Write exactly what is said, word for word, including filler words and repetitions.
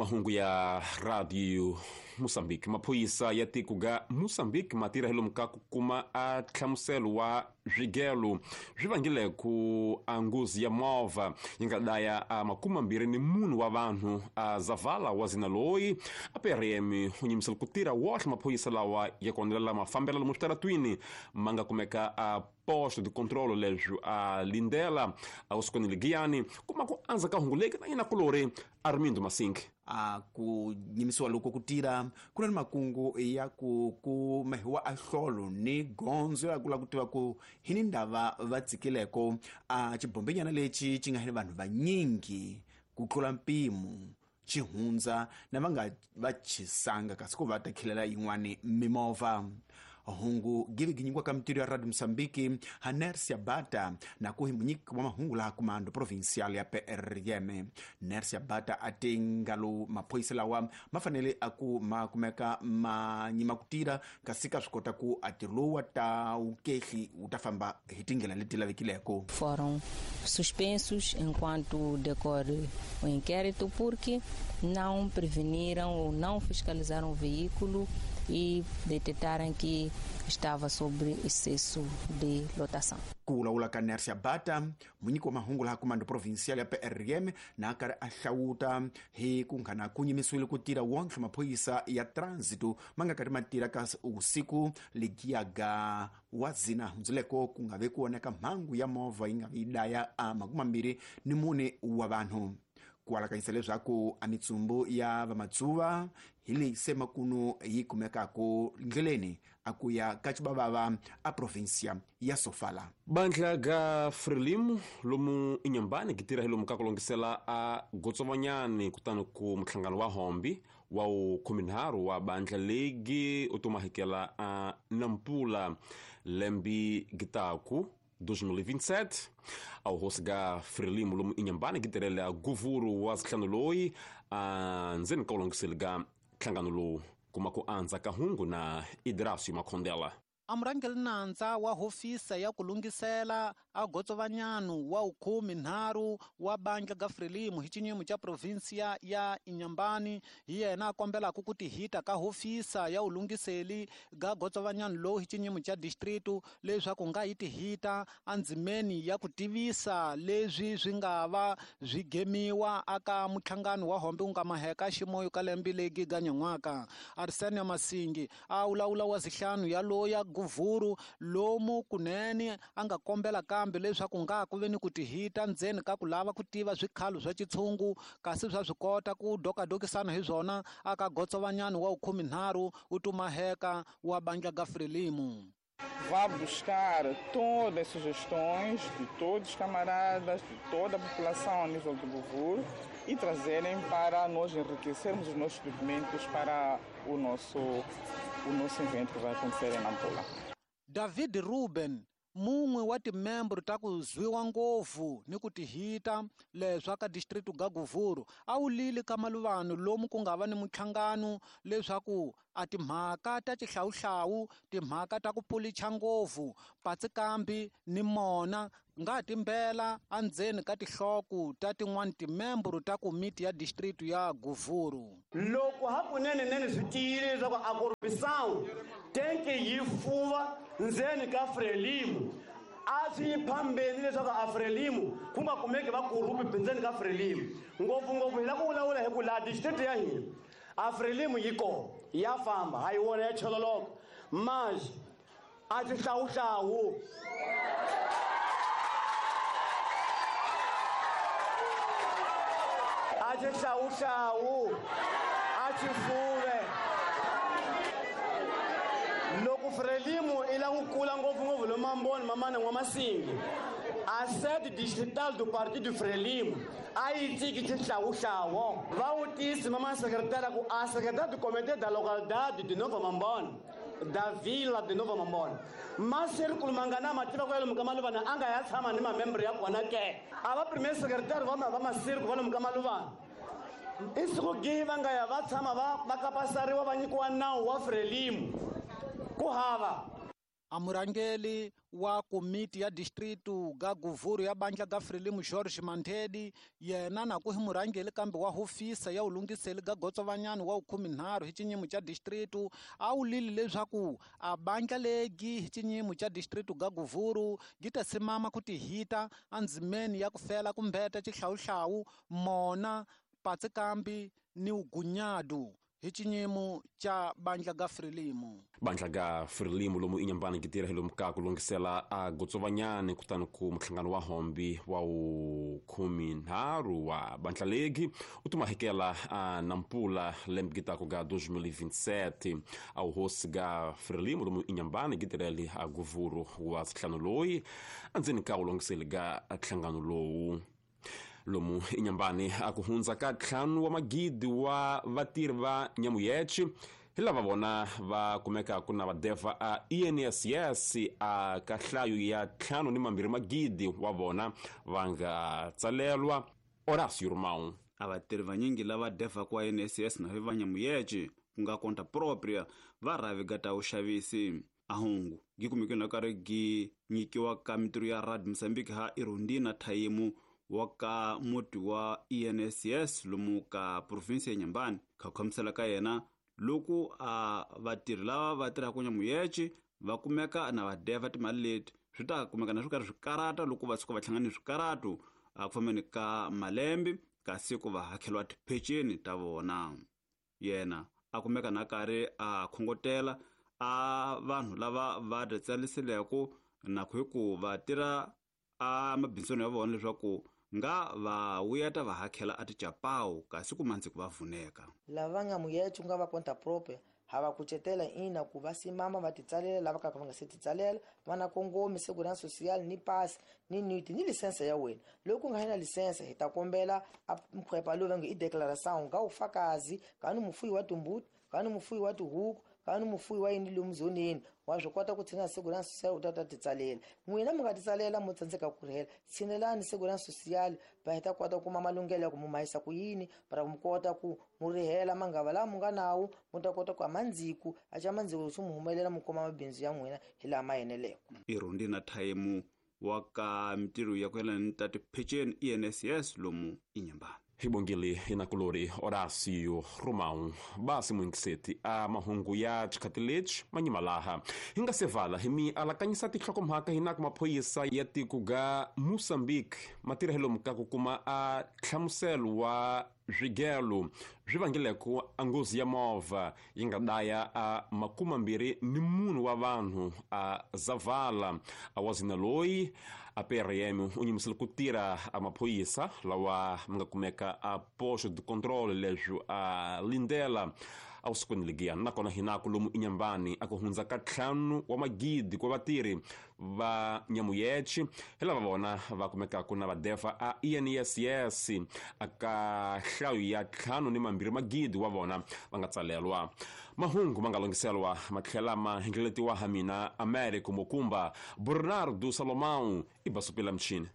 Mahungu ya Radio Mozambique. Maphorisa ya tiko ga Mozambique ma tirha hi lomu ka ku kuma a nhlamuselo wa swigelo swi vangile ku a nghozi ya movha yi nga daya a makume mambirhi ni munhu wa vanhu a Zavala wa zina loyi a P R M u nyimisela ku tirha wohle maphorisa lawa ya kondzelela mafambelo lomu switaratwini ma nga kumeka a posto de controlo leswi a lindela a usukweni ligiyani kuma ku andza ka hungu leki na yina kulori Armindo Masink. A ku nyimisiwa loko ku tirha ku na ni makungu ya ku kumehiwa a hlolo ni gondzo ya ku lava ku tiva ku hi ni ndava va tsikileko a xibombenyana lexi xi nga ni vanhu vanyingi ku tlula mpimo xi hundza na va nga va chisanga kasi ku va ta khilela yin'wani mimovha. Hungu give ginyikiwa ka mitirho ya Radio Mozambique ha Nersia Bata na ku hi munyiki wa mahungu laha kumando provincial ya P R M. Nersia Bata a te ngalo maphorisa lawa ma fanele a ku ma kumeka ma nyima ku tirha kasi ka swi kota ku a ntirho lowu wa ta wukehli wu ta famba hi tindlela leti lavekileko. Foram suspensos enquanto decorre o inquérito porque não preveniram ou não fiscalizaram o veículo e detectaram que estava sobre excesso de lotação. Ku vulavula ka Nersia Bata, munyiki wa mahungu laha kumando provincial ya P R M na karhi a hlawuta hi ku nghana ku nyimisiwile ku tirha wonke maphorisa ya transito ma nga karhi ma tirha ka usiku legiyaga wa zina hundzuleko ku nga ve ku oneka mhangu ya movha yi nga vi daya a makume mambirhi ni mune wa vanhu. Ku alakanyisa leswaku a mitsumbu ya vamatsuva hi leyi se makunu yi kumekaka ndleleni a ku ya ka Chibabava a provincia ya Sofala. Bandla ga Frelimo lomu Inhambane gi tirha hi lomu ka ku longisela a gotsovanyani kutani ku muhlangano wa hombi wa khumenharhu wa bandla legi u tumahikela a Nampula lembi gitaku dois mil e vinte e sete. Ao hosi ga Frelimo lomu Inhambane gi tirhele a guvuru wa zihlanu loyi a ndzeni ka ku longiseli ga nhlangano lowu kuma ku andza ka hungu na Idrasio Makhondela. A murhangeri nandza wa hofisa ya ku lunghisela a gotsovanyanu wa ukhume nharhu wa bandla ga Frelimo hi xinyimo xa provinsia ya Inhambane hi yena a kombelaka ku tihita ka hofisa ya ulunghiseli ga gotsovanyanu lowu hi xinyimo xa distritu leswaku nga yi tihita endzimeni ya ku tivisa leswi swi nga va swi gemiwa aka muhlangano wa hombe wu nga maheka ximoyo ka lembe legi ga nyan'waka. Arsenio Masingi a vulavula wa zihlanu ya loya guvuru lomu kunene a nga kombela kambe leswaku nga ku ve ni ku tihita ndzeni ka ku lava ku tiva swikhalo swa xitshungu kasi swa swi kota ku dokadokisana hi swona aka gotsovanyani wa khumenharhu u tumaheka wa bandla ga Frelimo. Vá buscar todas as sugestões de todos os camaradas, de toda a população a nível do Govuro e trazerem para nós enriquecermos os nossos documentos para o nosso, o nosso evento que vai acontecer em Nampula. David Ruben, mun'we wa timembro ta ku zwiwa ngopfu ni ku tihita leswa ka distritu ga Govuro a wu lili ka maluvanu lomu ku nga va ni muhlangano leswaku a timhaka ta xihlawuhlawu timhaka ta ku pulicha ngopfu patsikambi ni mona nga timbela endzeni ka tinhloko ta tin'wani timembro ta komiti ya distritu ya Govuro. Loko hakunene nene swi tiyile leswaku a corrupção tenke yi fuva ndzeni ka Frelimo a swi phambeni leswaku a Frelimo ku nga kumeki va corrupt ndzeni ka Frelimo ngopfungopfu hi la ku vulavula hi ku laha district ya hina a Frelimo yi kona ya famba ha yi wona ya chololoka mas a xihlawuhlawu a xihlawuhlawu a xifuve loko Frelimo i la ku kula ngopfungopfu lo mamboni mamana n'wamasingi a sede distrital do partido Frelimo a yi tiki xihlawuhlawu va vutisi mama secretary ku a secretaria do comité da localidade de Nova Mambone da vila de Nova Mambone masirikulu mangana ma tiva ku ya lomu ka maluvana a nga ya tshama ni mamembre ya kona ke a va premier secretary va va masirikulu va lomu ka maluvana i siku gihi va nga ya va tshama va va kapasariwa va nyikiwa nawu wa Frelimo ku hava. A murangeli wa komiti ya distritu ga Govuro ya bandla ga Frelimo George Mantedi yena na ku hi murangeli kambe wa hofisa ya ulungiseli ga gotsovanyani wa ukhuminharhu hi xinyimo xa distritu a wu lili leswaku a bandla legi hi xinyimo xa distritu ga Govuro gi ta simama ku tihita endzimeni ya ku fela kumbeta xihlawuhlawu mona patsi kambi ni ugunyadu hi xinyimo xa bandla ga Frelimo. Bandla ga Frelimo lomu inyambani gitira hi lomu ka ku lunghisela a gotsovanyani kutani ku muhlangano wa hombi wa ukhuminharhu wa bandla legi u tumahekela a Nampula lembe gitaku ga dois mil e vinte e sete. A hosi ga Frelimo lomu inyambani gitireli a Govuro wa nhlangano loyi andzeni ka wu lunghiseli ga nhlangano lowu. Lomu inyambani a ku hundza ka ntlhanu wa magidi wa vatirhi va nyamuyechi hi lava vona va kumeka ku na vadeva a I N S S a ka nhlayo ya ntlhanu ni mambirhi magidi wa vona va nga tsalelwa. Horacio Romão. A vatirhi vanyingi lava devaka wa I N S S na va nyamuyechi ku nga conta propria va rhavi ta vuxavisi. Ahungu gi kumeke na karhi gi nyikiwa ka mitirho ya Radio Mozambique ha Irondina Thayimu wa ka muti wa I N S S lomu ka province ya Nyambani. Kha khomisela ka yena loko a vatirhi lava va tirhaka nyamuyechi va kumeka na va deva timali leti swi ta kumeka na swi karhi swi karata loko va suka va hlangana ni swikaratu a ku fambeni ka malembe kasi ku va hakeriwa tipheceni ta vona. Yena a kumeka na karhi a khongotela a vanhu lava va titsariseleke na ku hi ku va tirha a mabindzweni ya vona leswaku nga va wuyeta va hakela a tichapawu kasi ku mandzi ku va vuneka. Lava nga muyechi ku nga va conta propria ha va kucetela ina ku va simama va titsalela lava ka va nga se titsalela va na kongomi segurança social ni pass ni niti ni lisense ya wena. Loko u nga na lisense hi ta kombela a mphepha lowu va nge i declaração nga ufakazi ka ni mufuyi wa timbuti ka ni mufuyi wa tihuku ka ni mufuyi wa yini lomu zoneni wa swi kota ku tshina segurança social u ta ta titsalela. N'wina mi nga titsalela mo tsandzeka ku rhela tshinelani segurança social va hi ta kota ku kuma malunghelo ya ku mu mahisa ku yini para ku mi kota ku mu rihela mangava lawa mu nga nawu mu ta kota ku a mandziku a xa mandziku swi mu humelela mu kuma mabindzu ya n'wina hi laha ma eneleke. Irondina Thayimu wa ka mitirho ya ku yelana ni ta tipheceni I N S S lomu inyambani. Hibongile inakulori Horacio Romão basi muingiseti a mahungu ya xikhathi lexi manyima laha hi nga se vala hi mi alakanyisa tinhlokomhaka hi na ku maphorisa ya tiko ga Mozambique matirhelo ka ku kuma a nhlamuselo wa swigelo swi vangileko a nghozi ya movha yi nga daya a makumambirhi ni munhu wa vanhu a Zavala a wazina loyi a P R M u nyimisile ku tirha a maphorisa lawa ma nga kumeka a posto de controle leswi a lindela a vusikwini legiya nakona hinaku lomu inyambani a ku hundza ka ntlhanu wa magidi kwa vatirhi va nyamuyechi hi lava vona va kumekaku na vadeva a I N S S a ka nhlayo ya ntlhanu ni mambirhi magidi wa vona va nga tsalelwa. Mahungu ma nga lunghiselwa ma tlhela ma hlengeletiwa ha mina Americo Mokumba Bernardo Salomão i basupela mchini.